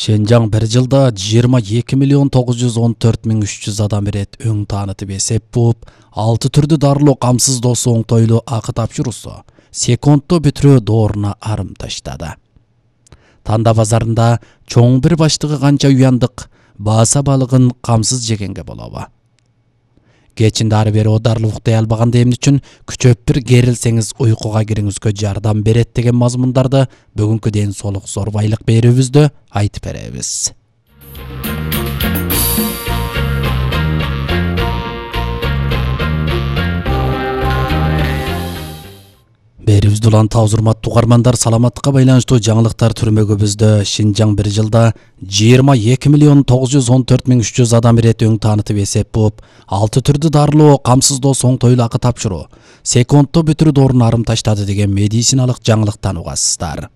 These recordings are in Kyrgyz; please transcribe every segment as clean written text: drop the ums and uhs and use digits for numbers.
Шенжаң bir жылда 22.914.300 адам ирет өң таанытып эсеп буып, 6 түрдүү дарылоо камсыздоосу оңтойлуу акы тапшыруусу секундто бүтүрүү дооруна арым таштады. Танда базарында чоң бир баштыгы канча уяндык бааса балыгын камсыз жегенге болобу. Кечинде ары бери оодарылып уктай албаганда эмне үчүн күчөп бир керилсеңиз уйкуга кириңизге жардам берет деген мазмундарды бүгүнкү ден соолук зорбайлык берүүбүздө айтып беребиз. Берүүбүздү улантабыз, урматтуу угармандар. Саламаттыкка байланыштуу жаңылыктар түрмөгүбүздө Шинжаң bir жылда 22.914.300 адам ирет өң таанытып эсеп буып, 6 түрдүү дарылоо камсыздоосу оңтойлуу акы тапшыруу секундто бүтүрүү дооруна арым таштады деген медициналык жаңылыктан угасыздар.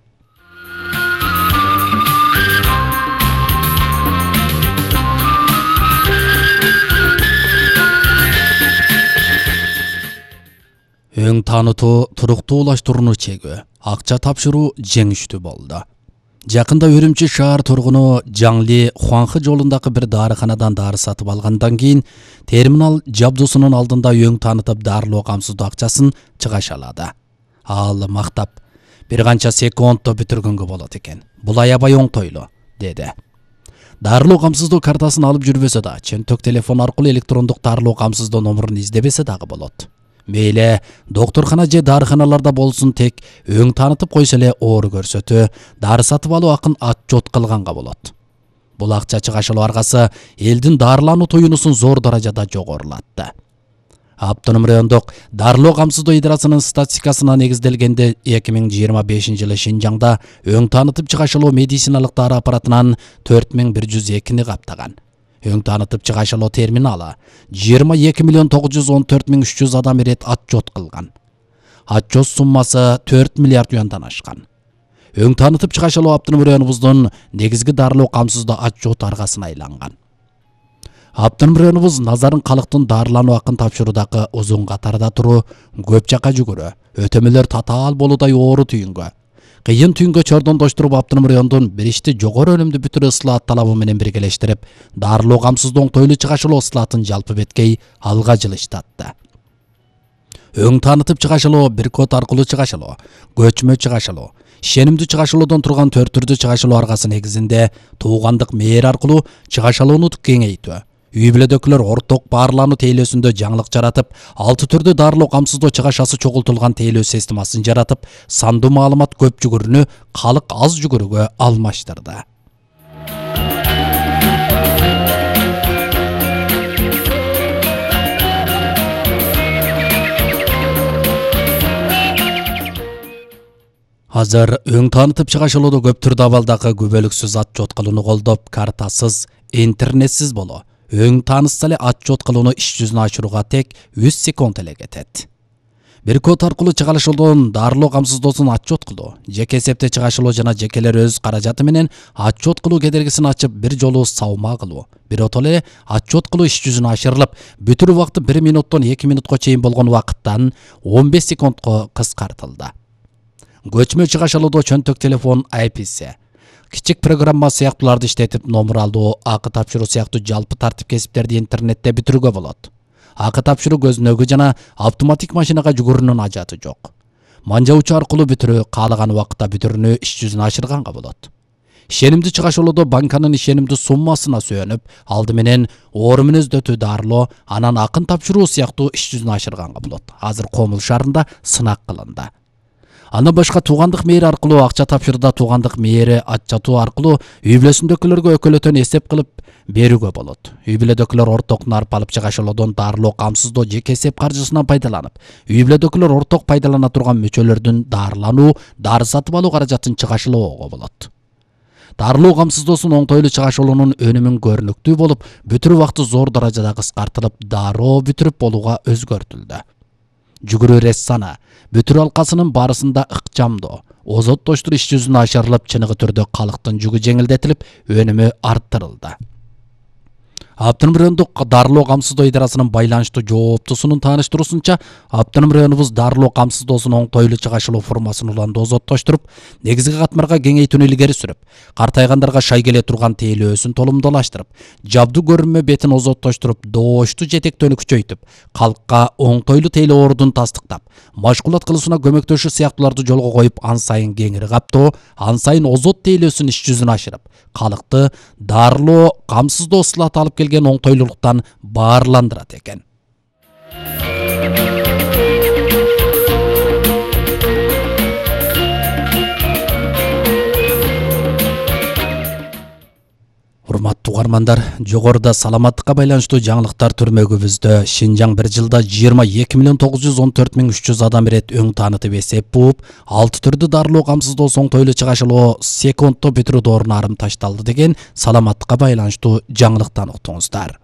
Өң таанытуу туруктуулаштырууну чегүү, акча тапшыруу жеңиштүү болду. Жакында Үрүмчү шаар тургуну Жаңли Хуанхы жолундагы бир дарыканадан дары сатып алгандан кийин терминал жабдуусунун алдында өң таанытып дарылоо камсыздоо акчасын чыгашалады. Ал мактап: бир канча секундто бүтүргөнгө болот экен. Бул аябай оңтойлуу, деди. Дарылоо камсыздоо картасын алып жүрбөсө да, чөнтөк телефон аркылуу электрондук дарылоо камсыздоо номурун издебесе дагы болот. Мейле докторкана же дарыканаларда болсун, тек өң таанытып койсо эле оору көрсөтүү, дары сатып алуу акын отчет кылганга болот. Бул акча чыгашылуу аркасы элдин дарылануу туюнусун зор даражада жогорулатты. Автоном райондук дарылоо камсыздоо идарасынын статистикасына негизделгенде 2025 жылы Шинжаңда өң таанытып чыгашылуу медициналык дары аппаратынан 4102 каптаган. Өң таанытып чыгашылоо терминалы 22.914.300 адам ирет отчет кылган. Отчет суммасы 4 миллиард юандан ашкан. Өң таанытып чыгашылуу автоном районубуздун негизги дарылоо камсыздоо отчет аргасына айланган. Автоном районубуз назарын калктын дарылануу акын тапшыруудагы узун катарда туруу, көп жака жүгүрүү, өтөмөлөр татаал болуудай оору түйүнгө, кыйын түйүнгө чордондоштуруп автоном райондун биричти жогору өнүмдүү бүтүрүү ыслаат талабы менен биргелештирип, дарылоо камсыздоо оңтойлуу чыгашылуу ыслаатын жалпы беткей алга жылыштатты. Өң таанытып чыгашылуу бир код аркылуу чыгашылуу, көчмө чыгашылуу, ишенимдүү чыгашылуудан турган 4 түрдүү чыгашылуу аргасы негизинде туугандык мээр аркылуу чыгашылууну кеңейтүү, үй бүлөдөгүлөр орток баарлануу тейлөөсүндө жаңылык жаратып, 6 түрдүү дарылоо камсыздоо чыгашасы чогултулган тейлөө системасын жаратып, сандуу маалымат көп жүгүрүүнү калык аз жүгүрүүгө алмаштырды. Азыр өң таанытып чыгашылоодо көп түрдүү абалдагы күбөлүксүз отчет кылууну колдоп, картасыз, интернетсиз боло, өң таанытса эле отчет кылууну иш жүзүнө ашырууга тек 3 секунд эле кетет. Бир код аркылуу чыгашылуудан дарылоо камсыздоосун отчет кылуу, жеке эсепте чыгашылуу жана жекелер өз каражаты менен отчет кылуу кедергисин ачып, бир жолу саума кылуу, биротоло эле отчет кылуу иш жүзүнө ашырылып, бүтүрүү убакыты 1 минуттон 2 минутка чейин болгон убакыттан 15 секундка кыскартылды. Көчмө чыгашылоодо чөнтөк телефон APC, кичик программа сыяктууларды иштетип, номер алуу, акы тапшыруу сыяктуу жалпы тартип кесиптерди интернетте бүтүрүүгө болот. Акы тапшыруу көзүнөгү жана автоматик машинага жүгүрүүнүн ажаты жок. Манжаучу аркылуу бүтүрүү, каалаган убакытта бүтүрүүнү иш жүзүнө ашырганга болот. Ишенимдүү чыгашылоодо банканын ишенимдүү суммасына сүйөнүп, алды менен оору мүнөздөтүү дарылоо, анан акын тапшыруу сыяктуу иш жүзүнө ашырганга болот. Азыр Комул шаарында сынак кылынды. Андан башка туугандык мээри аркылуу акча тапшырда туугандык мээри ачатуу аркылуу үй бүлөсүндөгүлөргө өкөлөтөн эсеп кылып берүүгө болот. Үй бүлөдөгүлөр орток нарп алып чыгашылоодон дарылоо камсыздоо жеке эсеп каржысынан пайдаланып, үй бүлөдөгүлөр орток пайдалана турган мүчөлөрдүн дарылануу, дары сатып алуу каражатын чыгашылоого болот. Дарылоо камсыздоосун оңтойлуу чыгашылуунун өнүмүн көрүнүктүү болуп, бүтүрүү убакыты зор даражада кыскартылып, дароо бүтүрүп болууга өзгөртүлдү. Жүгүрүү рессаны, бүтүрүү алкасынын барысында ыкчамдоо, озоттоштур иш жүзүнө ашырылып, чыныгы түрдө калктын жүгү жеңилдетилип, өнүмү арттырылды. Автоном райондук дарылоо камсыздоо идарасынын байланыштуу жооптусунун тааныштыруусунча, автоном районубуз дарылоо камсыздоосунун оңтойлуу чыгашылуу формасын уланды озоттоштуруп, негизги катмарга кеңейтүүнү илгери сүрүп, картайгандарга шай келе турган тейлөөсүн толумдуулаштырып, жабдуу көрүнмө бетин озоттоштуруп, дооштуу жетектөөнү күчөйтүп, калкка оңтойлуу тейлөө ордун тастыктап, машгулат кылуусуна көмөктөшүү сыяктууларды жолго коюп, ан сайын кеңири каптоо, ан сайын озот тейлөөсүн иш жүзүнө ашырып, калкты дарылоо камсыздоо ыслааты алып келген оңтойлуулуктан баарландырат экен. Урматтуу угармандар, жогоруда саламаттыкка байланыштуу жаңылыктар түрмөгүбүздө Шинжаң бир жылда 22.914.300 адам ирет өң таанытып эсеп бууп, 6 түрдүү дарылоо камсыздоо оңтойлуу чыгашылоо секундто бүтүрүү дооруна арым ташталды деген саламаттыкка байланыштуу жаңылыктан уктуңуздар.